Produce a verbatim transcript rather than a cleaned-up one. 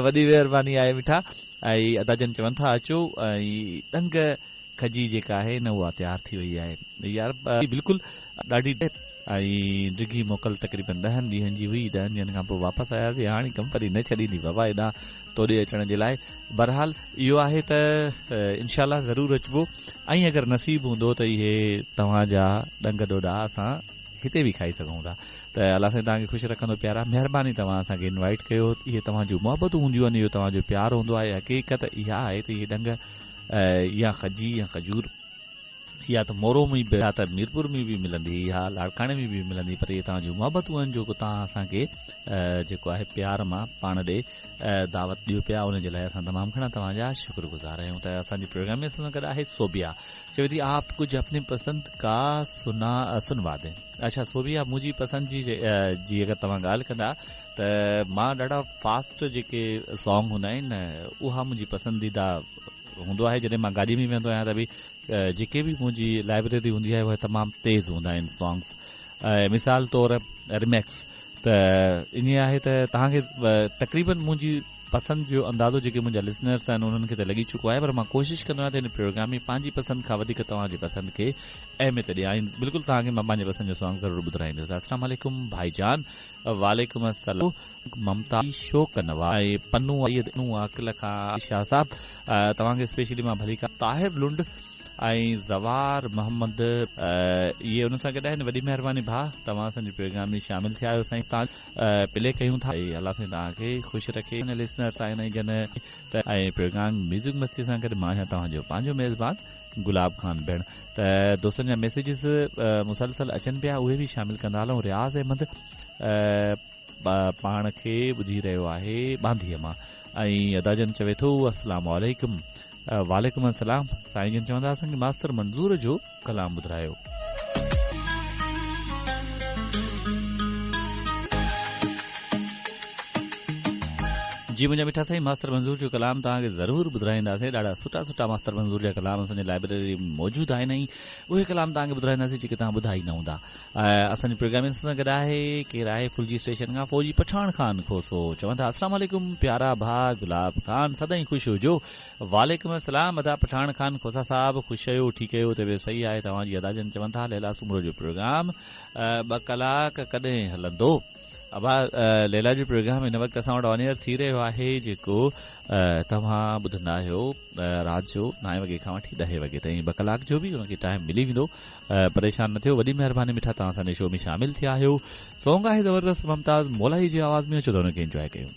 وڏي مهرباني آهي مٺا. ۽ ادا جن چون ٿا اچو ۽ ڏنگ کجي جيڪا آهي نه اها تيار ٿي وئي آهي يار. بلڪل ڏاڍي ۽ ڊگهي موڪل تقريبن ڏهن ڏينهن جي هئي. ڏهن ڏينهن کان پوءِ واپس آياسين. هاڻي ڪمپني نه ڇڏيندي بابا هيڏان توڏي اچڻ جي لاءِ. بهرحال اهو آهي ته انشا ضرور اچبو ۽ اگر نصيب هوندو ته اهي توهان جا ڏنگ ڏوڏا اسان هتي به کائي سگهون ٿا. ته الله سائين توهان کي خوش رکندو. پيارا، مهرباني توهان اسان کي انوائيٽ ڪيو. اهي توهان جون محبتون هونديون آهن، اهو توهان جو پيار هوندو آهي. حقيقت اها آهي ته اهي ڏنگ يا کجي يا کجور يا ته مورو ۾ به يا ته ميرپور ۾ به ملندي يا لاڙڪاڻي ۾ به ملندي، پر اهي توهان جون محبتون آهن جو توهان اسان کي جيڪو آهي پيار مان پاڻ ڏي دعوت ڏيو پيا، ان جي لاءِ اسان تمام گهڻا توهان جا شڪرگذار آهيون. ته اسان جي پروگرام ۾ اسان سان گڏ آهي سوبيا، چوي ٿي آپ ڪجهه اپني پسند ڪا سنا سنوا دين. اڇا سوبيا، منهنجي پسند جي جي اگر توهان ڳالهه ڪندا ته مان ڏاڍا فاسٽ جيڪي سانگ هوندا آهن اها منهنجي پسنديده هوندو آهي. جڏهن مان گاڏي ۾ ويندو آهيان ته به جيڪي به منهنجي لائبريري هوندي آهي اهي تمام تيز هوندا آهن سانگس، مثال طور ريميڪس. ته ائين آهي ته توهان کي تقريبن منهنجي پسند جو اندازو جيڪي منهنجا لسنرس آهن انهن کي ته لڳي چڪو آهي، پر مان ڪوشش ڪندو آهيان ته هن پروگرام ۾ پنهنجي پسند کان وڌيڪ توهان جي پسند کي اهميت ڏيان. بلڪل توهان کي مان پنهنجي پسند جو سانگ ضرور ٻڌرائيندس. السلام عليڪم ڀائي جان. واليڪم السلام. ممتا شوق نوا ۽ پنو عاقل کان شاهه صاحب، توهان کي اسپيشلي مان ڀلي. طاهر لنڊ ۽ زوار محمد اهي ان سان گڏ آهن. وڏي مهرباني ڀاءُ، توهان اسان جي پروگرام ۾ شامل ٿيا آهيو. سائين توهان پلي ڪيون ٿا. الله سائين توهان کي خوش رکي. لسنرس آهن جن ته ۽ پروگرام ميوزڪ مستي سان گڏ مان آهيان توهان جو پنهنجو ميزبان گلاب خان ڀيڻ. ته دوستن جا ميسيجز مسلسل اچن پيا، اهي به شامل ڪندا هلون. رياض احمد پاڻ کي ٻڌي رهيو آهي ٻانڌيءَ مان ۽ ادا جن چوي ٿو السلام عليڪم. واليڪم السلام. سائين جن چوندا اسان کي ماستر منظور جو ڪلام ٻڌايو. جي منهنجا مٺا سائين، ماستر منظور جو ڪلام توهان کي ضرور ٻڌائينداسين. ڏاڍا سٺا سٺا ماستر منظور جا ڪلام اسان جي لائبريري ۾ موجود آهن ۽ اهي ڪلام توهان کي ٻڌائينداسين جيڪي توهان ٻڌا ئي نه هوندا. اسان جي پروگرام سان گڏ آهي ڪير آهي؟ ڦلجي اسٽيشن کان فوجي پٺاڻ خان کوسو چون ٿا السلام عليڪم پيارا ڀاءُ گلاب خان، سدائين خوش هجو. واليڪم السلام ادا پٺاڻ خان کوسا صاحب، خوش آهيو؟ ٺيڪ آهيو؟ طبيعت صحيح آهي توهان جي؟ ادا جن چون ٿا ليلا سومرو جو پروگرام ٻه ڪلاڪ ڪڏهن هلندو؟ ابا، ليلا جو پروگرام هن وقت اسان وٽ آن ايئر ٿي رهيو آهي جيڪو توهان ٻڌندا آهيو رات جو نائين وڳي کان وٺي ڏهين وڳي تائين. ٻه ڪلاڪ جو به هن کي ٽائيم ملي ويندو، پريشان نه ٿيو. وڏي مهرباني مٺا، توهان اسان جي شو ۾ شامل ٿيا آهيو. سانگ آهي زبردست ممتاز مولائي جي آواز ۾ اچو ته هن کي انجواءِ ڪيون.